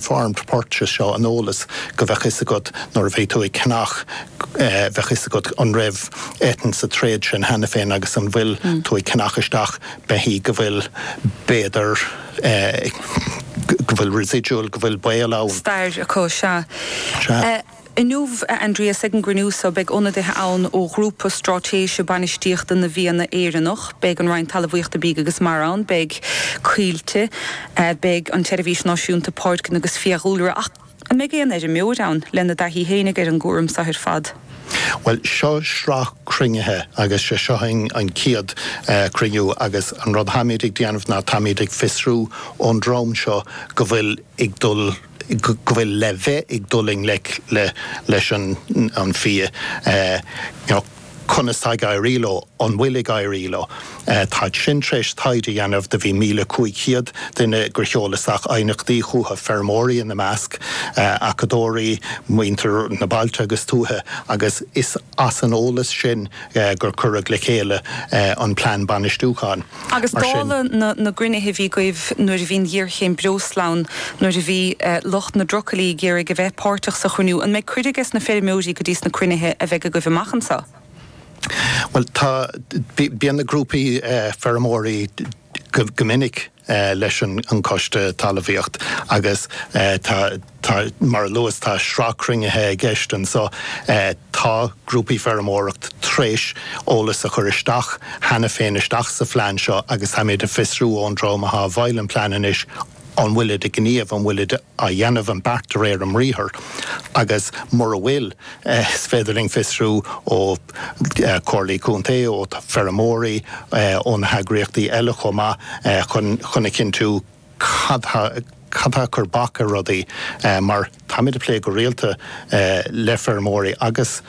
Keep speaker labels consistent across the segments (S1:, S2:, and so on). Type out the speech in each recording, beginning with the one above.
S1: informed purchase seo, an eolas go bheadh fhios agat nuair a bhí tú ag ceannach, bheadh fhios agat an raibh eitinn sa tréad sin cheana féin agus an bhfuil tú ag ceannach isteach beithígh go bhfuil b'fhéidir go bhfuil residual, go bhfuil baol ann.
S2: Stair acu, sea. Sea. Inniu, a Aindrias, ag an gcruinniú so, beidh ionadaithe ann ó Ghrúpa Straitéise Bainistíochta na bhFianna Éireannach, beidh an Roinn Talmhaíochta, Bídh agus Mara ann, beidh Coillte, beidh an tSeirbhís Náisiúnta Páirceanna agus Fiadhúlra, ach an mbeidh aon fheirmeoir ann lena dtaithí fhéinig ar an gcúram so ar fad?
S1: Bhuel, seo sraith cruinnithe agus sé seo an chéad chruinniú agus an rud táimid ag déanamh ná táimid ag fiosrú ón dream seo go bhfuil ag dul, go bhfuil le bheith ag dul i ngleic le leis an fia, you know, conas tá ag éirí leo, an bhfuil ag éirí leo. Táid sin tar éis taighde a dhéanamh, do bhí 1,500 duine gur sheol isteach aighneachtaí chucu, feirmeoirí ina measc, acadóirí, muintir na bailte agus tuaithe, agus is as an eolas sin gur cuireadh le chéile an plean bainistiúcháin.
S2: Agus Mar sin. dála na gcruinnithe a bhí agaibh nuair a bhí an ghéarchéim breosla ann, nuair a bhí lucht na dtrucailí ag iarraidh a bheith páirteach sa chruinniú, an mbeidh cuireadh ages na feirmeoirí go dtí sna cruinnithe a bheidh agaibh amach anseo?
S1: Bhuel, tá, bíonn na grúpaí feirmeoirí go minic leis an Coiste Talmhaíocht agus tá, Tá, mar a luas, tá sraith cruinnithe i gceist anso. Tá grúpaí feirmeoireacht tréis eolas a chur isteach cheana féin isteach sa phlean seo agus táimid ag fiosrú ón dream atá i bhfeighil an plean anois an bhfuilid ag gníomh, an bhfuilid á dhéanamh an beart de réir a mbriathair agus mura bhfuil, is féidir linn fiosrú ó chomhairlí contae, ó feirmeoirí, ó na heagraíochtaí eile chomh maith chun a chinntiú cad cad tá ag cur bac ar rudaí mar táimid ag plé go rialta le feirmeoirí agus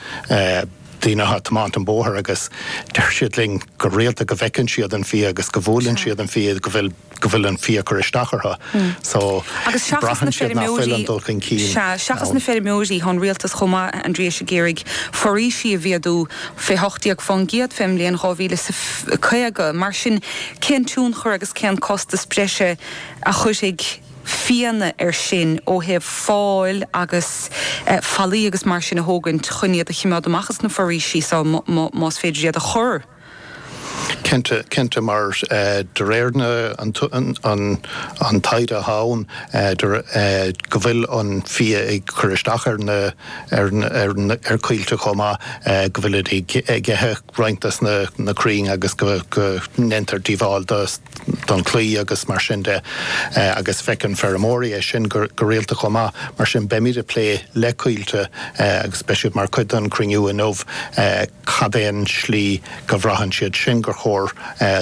S1: daoine atá ag tiomáint an bóthar agus deir siad linn go rialta go bhfeiceann siad an fia agus go bhuaileann siad an fia go bhfuil go bhfuil an fia ag cur isteach orthu. So
S2: Agus seachas na
S1: braitheann siad nach bhfuil an
S2: feirmeoirí,
S1: dul chun cinn
S2: sea, seachas
S1: ann.
S2: na feirmeoirí, tá an rialtas chomh maith, a Aindriais, ag iarraidh foraoisí a mhéadú fé 18% fén mbliain 2050. Mar sin, cén tionchar agus cén costas breise a chuirfidh fianna air sin ó thaobh fáil agus fallaí agus mar sin a thógaint chun iad a chimeád amach as na foraoisí so más féidir iad a chur?
S1: Cinnte, cinnte, mar de réir na an an taighde atá ann go bhfuil an fia ag cur isteach ar na ar ar coillte chomh maith, go bhfuilid ag ithe roinnt des na crainn agus go ndéantar díobháil don chlaí agus mar sin de agus feiceann feirmeoirí é sin go rialta chomh maith. Mar sin beimid ag plé le Coillte agus beidh siad mar chuid den chruinniú inniu cad é an slí go bhraitheann siad sin gur chóir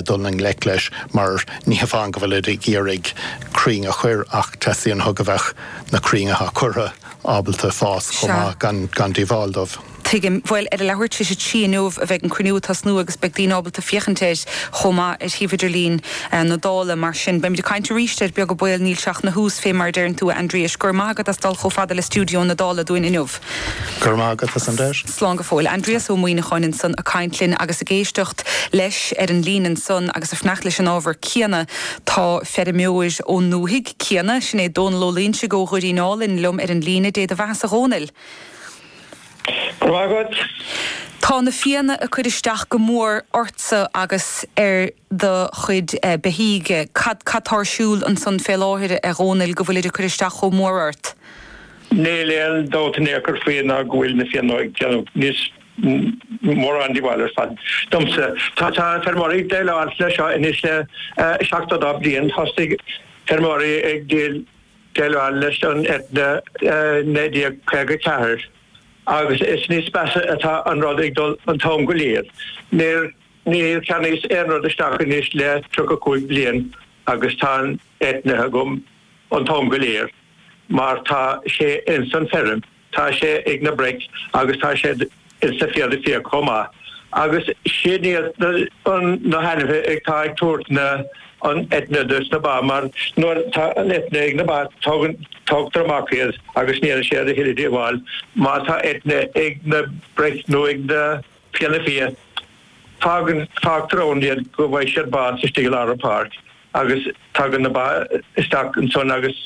S1: dul i ngleic leis mar ní hamháin go bhfuilid ag iarraidh crainn a chur ach teastaíonn uathu go bheadh na crainn atá curtha ábalta fás chomh maith gan díobháil dóibh.
S2: Tuigim. Bhuel, ar a leathuair tar éis a 3 inniu a bheidh an cruinniú ag tosnú agus beidh daoine ábalta féachaint air chomh maith ar shuíomh idirlín na Dála. Mar sin, beimid ag caint arís air, beag an baol, níl sé ach 'na thús, fé mar a deireann tú, a Aindriais. Go raibh maith agat as dul chomh fada le stiúideo na Dála dúinn inniu.
S1: Go raibh maith agat as an deis.
S2: Slán go fóill. Aindrias Ó Muíneacháin ansan ag caint linn agus ag éisteacht leis ar an líne ansan agus ag fanacht leis an ábhar céanna tá feirmeoir ón ndúthaigh céanna, sin é Dónal Ó Loingsigh ó Dhoirín Álainn liom ar an líne. Dé do bheathasa a Dhónaill.
S3: Go raibh maith agat.
S2: Tá na fianna ag cur isteach go mór ortsa agus ar do chuid beithígh. Cad cad tá ar siúl ansan fé láthair, a Dhónaill, go bhfuilid ag cur isteach chomh mór ort?
S3: Níl aon dabht in aon chor faoi ná go bhfuil na fianna ag déanamh níos mórán díobháil ar fad domsa. Tá tá feirmeoirí ag déileáil leis seo anois le 72 bliain. Thosaigh feirmeoirí ag déileáil leis an eithne 1954 agus is níos measa atá an rud ag dul an t-am go léir. Níor níor cheannaíos aon rud isteach anois le 35 bliain agus tá an eithne agam an t-am go léir mar tá sé ins an feirm. Tá sé ag na broic agus tá sé ins na fianna fia chomh maith. Agus sin iad na hainmhithe atá ag tabhairt na an eithne dos na ba mar nuair tá an eithne ag na ba tógann tógtar amach iad agus ní dhéanann siad a thuilleadh díobháil. Má tá eithne ag na broic nó ag na fianna fia fágann fágtar ann iad go bhfaighidh siad bás istigh i lár an pháirc agus tagann na ba isteach ansan agus.